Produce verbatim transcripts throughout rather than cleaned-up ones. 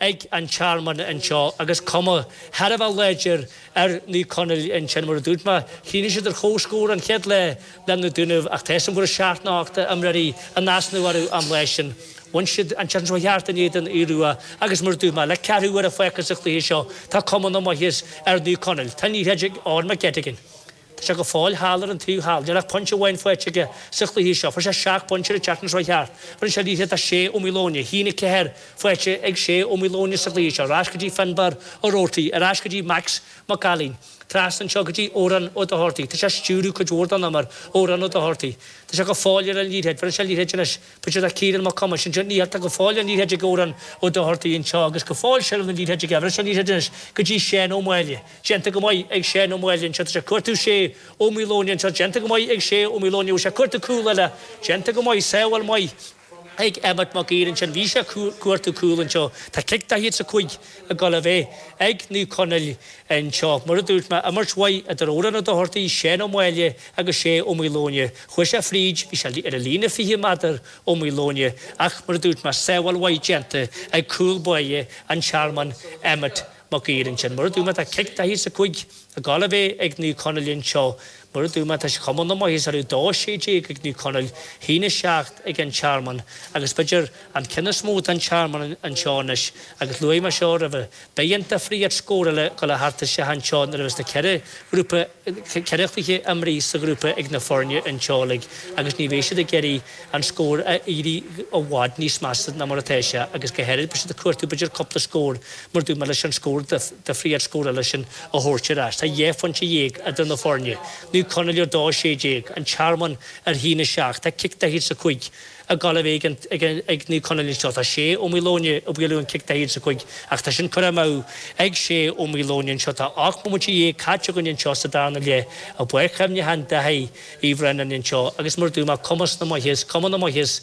ag an Tearmann anseo agus cuma thar a bheith láidir ar Naomh Conaill ansin mar a dúirt mé, shínigh siad ar comhscór an chéad lá le na Dúnaibh ach tá a fhios agam go raibh seacht nó ocht imreoirí in easnamh orthu an lá sin. Bhain siad an tseachtain seo thart in éadan Aodh Rua agus mar a dúirt mé, le ceathrú uaire fágtha sa chluiche seo, tá cuma na maitheas ar Naomh Conaill. Tá an liathróid ag Eoin McGettigan. Tá sé go fóill thall ar an taobh thall. Níl ach pointe amháin faighte aige sa chluiche seo. Fuair sé seacht bpointe an tseachtain seo thart. Bhronn sé liathróid do Shé Ó Maoileoin. A haon a ceathair faighte ag Shé Ó Maoileoin sa chluiche seo. Ar ais go dtí Finbarr Ó Roarty. Ar ais go dtí Max Mac Ailín. Trasna anseo go dtí Odhrán Ó Dochartaigh. Tá sé ag stiúradh cuid mhór den imirt, Odhrán Ó Dochartaigh. Tá sé go fóill ar an liathróid. Bhronn sé an liathróid anois. B'fhéidir do Ciarán Mac Cumais. Ansin ní tá go fóill an liathróid ag Odhrán Ó Dochartaigh anseo agus go fóill seilbh na liathróide aige. Bhronn sé an liathróid anois go dtí Seán Ó Máille. Déanta go maith ag Seán Ó Máille anseo. Tá sé ag cuartú Shé Ó Maoileoin anseo. Déanta go maith ag Shé Ó Maoileoin. Bhfuil sé ag cuartú cúl eile. Déanta go maith. Sábháil maith ag Emmet Mac Uidhir ansin. Bhí sé ag cuartú cúl anseo. Tá cic daichead is a cúig ag dul a bheith ag Naomh Conaill anseo. Mar a dúirt mé, imirt mhaith idir Odhrán Ó Dochartaigh, Seán Ó Máille agus Shé Ó Maoileoin. Chuaigh sé fríd, bhí sé ar an líne fiche méadar Ó Maoileoin, ach mar a dúirt mé, sábháil mhaith déanta ag cúl báire an Tearmainn, Emmet Mac Uidhir ansin. Mar a dúirt mé, tá cic daichead is a cúig ag dul a bheith ag Naomh Conaill anseo. Mar a dúirt mé, tá cuma na maitheasa orthu, dó sé déag ag Naomh Conaill, haon a seacht ag an Tearmann agus b'fhéidir an ceann is mó don Tearmann anseo anois agus luaigh mé seo roimhe, beidh an difríocht scór eile ag dul a theacht isteach anseo nuair a bheas na ceithre ghrúpa, ceithre chluiche imrithe sa ghrúpa ag na foirne anseo uilig agus ní bheidh siad ag iarraidh an scór a éirí i bhfad níos measa ná mar atá sé agus go háirid beidh siad ag cuartú b'fhéidir cúpla scór mar dúirt mé leis an scór difríocht scór eile sin a thabhairt ar ais. Tá dhá phointe dhéag idir na foirne. Naomh Conaill ar dó sé déag, An Tearmann ar haon a seacht. Tá cic daichead is a cúig ag dul a bheith ag Naomh Conaill anseo. Tá Shé Ó Maoileoin ag bualadh an cic daichead is a cúig ach tá sin curtha amú ag Shé Ó Maoileoin anseo. Tá ocht mbomaite dhéag caite againn anseo sa darna leath i bPáirc Chuimhneacháin Daithí Uí Bhraonáin anseo agus mar a dúirt mé, cumas na maitheas, cuma na maitheas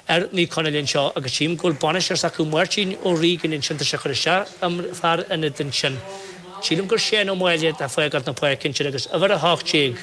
ar Naomh Conaill anseo agus tchím go bhfuil bainisteoir s'acu Máirtín Ó Riagáin ansin, tá sé ag cur isteach fear ionaid ansin. Sílim gur Seán Ó Máille atá ag fágáilt na páirce ansin agus uimhir a hocht déag,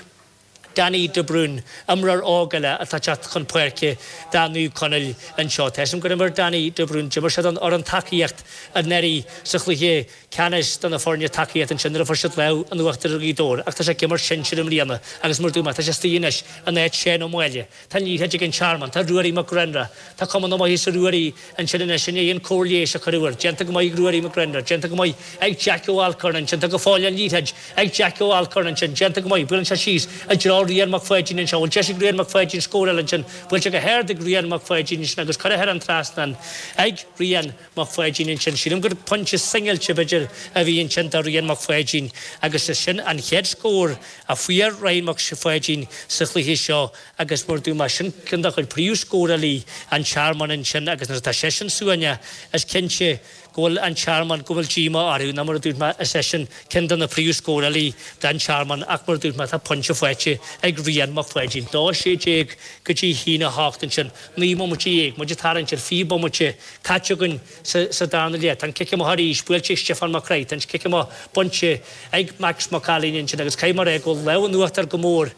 Danny de Brún, imreoir óg eile atá ag teacht chun páirce do Naomh Conaill anseo. Tá a fhios agam gur imir Danny de Brún, d'imir sé don fhoireann tacaíocht anuraidh sa chluiche ceannais do na foirne tacaíocht ansin nuair a fuair siad lámh in uachtar ar Ghaoth Dobhair ach tá sé ag imirt sinsir i mbliana agus mar a dúirt mé tá sé istigh anois in áit Seán Ó Máille. Tá an liathróid ag an Tearmann, tá Ruairí Mac Grianna, tá cuma na maitheasa ar Ruairí ansin anois i ndiaidh an cóir leighis a cuireadh air. Déanta go maith ag Ruairí Mac Grianna, déanta go maith ag Jack Ó Alcorn ansin, tá go fóill an liathróid ag Jack Ó Alcorn ansin, déanta go maith, buaileann sé síos i dtreo Rian Mac Pháidín anseo, bhfuil deis ag Rian Mac Pháidín scóráil ansin, buailte go hard ag Rian Mac Pháidín ansin agus curtha thar an trasnán ag Rian Mac Pháidín ansin. Sílim gur pointe singilte b'fhéidir a bhí ansin do Rian Mac Pháidín agus is sin an chéad scór a fuair Ryan Mac Pháidín sa chluiche seo agus mar dúirt mé, sin ceann de chuid príomhscórálaí an Tearmainn ansin agus nuair atá seisean suaimhneach is cinnte go bhfuil an Tearmann, go bhfuil díomá orthu ná mar a dúirt mé is eisean ceann de na príomhscórálaí don Tearmann ach mar a dúirt mé tá pointe faighte ag Rian Mac Pháidín. Dó sé déag go dtí haon a hocht ansin, naoi mbomaite dhéag, muid ag tarraingt ar fiche bomaite caite againn sa sa darna leath. Tá an cic amach arís buailte ag Stiofán Mac Craith, tá an cic amach bainte ag Max Mac Ailín ansin agus caithfidh mé a rá go bhfuil lámh in uachtar go mór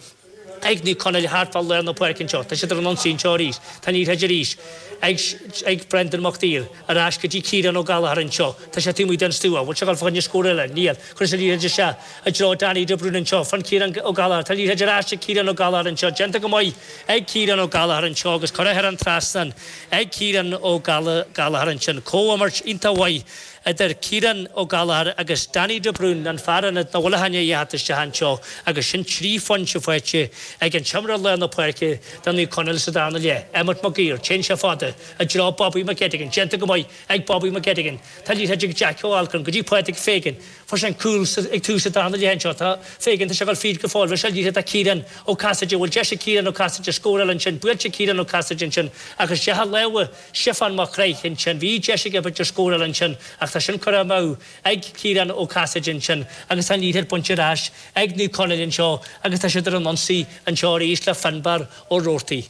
ag Naomh Conaill thart fá lár na páirce anseo. Tá siad ar an ionsaí anseo arís. Tá an liathróid arís ag ag Brendan Mac Uidhir ar ais go dtí Ciarán Ó Gallchóir anseo. Tá sé taobh amuigh den stua. Bhfuil sé ag dul fá choinne scór eile? Níl. Cuireann sé an liathróid isteach i dtreo Danny de Brún anseo. Fan Ciarán Ó Gallchóir. Tá an liathróid ar ais ag Ciarán Ó Gallchóir anseo. Déanta go maith ag Ciarán Ó Gallchóir anseo agus curtha thar an trasnán ag Ciarán Ó Gallchóir ansin. Comhimirt iontach mhaith idir Ciarán Ó Gallchóir agus Danny de Brún, an fear ionaid nach bhfuil ach i ndiaidh a theacht isteach anseo agus sin trí phointe faighte ag an t-imreoir lár na páirce do Naomh Conaill sa darna leath, Emmet Mac Uidhir. Téann sé fada i dtreo Bobby McGettigan. Déanta go maith ag Bobby McGettigan. Tá liathróid ag Jack Ó Alcorn go dtí Pádraig Fagan. Fuair sé an cúl ag tús an darna leath anseo. Tá Fagan, tá sé ag dul fríd go fóill. Bhronn sé an liathróid do Ciarán Ó Casaide. Bhfuil deis ag Ciarán Ó Casaide scóráil ansin? Buailte ag Ciarán Ó Casaide ansin ach isteach i lámha Stiofán Mac Craith ansin. Bhí deis aige b'fhéidir scóráil ansin ach tá sin curtha amú ag Ciarán Ó Casaide ansin agus tá an liathróid bainte ar ais ag Naomh Conaill anseo agus tá siad ar an ionsaí anseo arís le Finbarr Ó Roarty.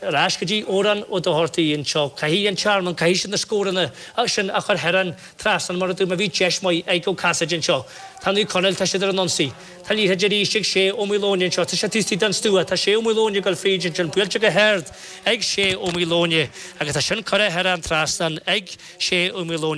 Ar ais go dtí Odhrán Ó Dochartaigh anseo. Caithfidh an Tearmann, caithfidh siad na scóranna sin a chur thar an trasnán mar a dúirt mé, bhí deis maith ag Ó Casaide anseo. Tá Naomh Conaill, tá siad ar an ionsaí. Tá an liathróid arís ag Sé Ó Maoileoin anseo. Tá sé taobh istigh den stua. Tá Sé Ó Maoileoin ag dul fríd ansin, buailte go hard ag Sé Ó Maoileoin agus tá sin curtha thar an trasnán ag Sé Ó Maoileoin.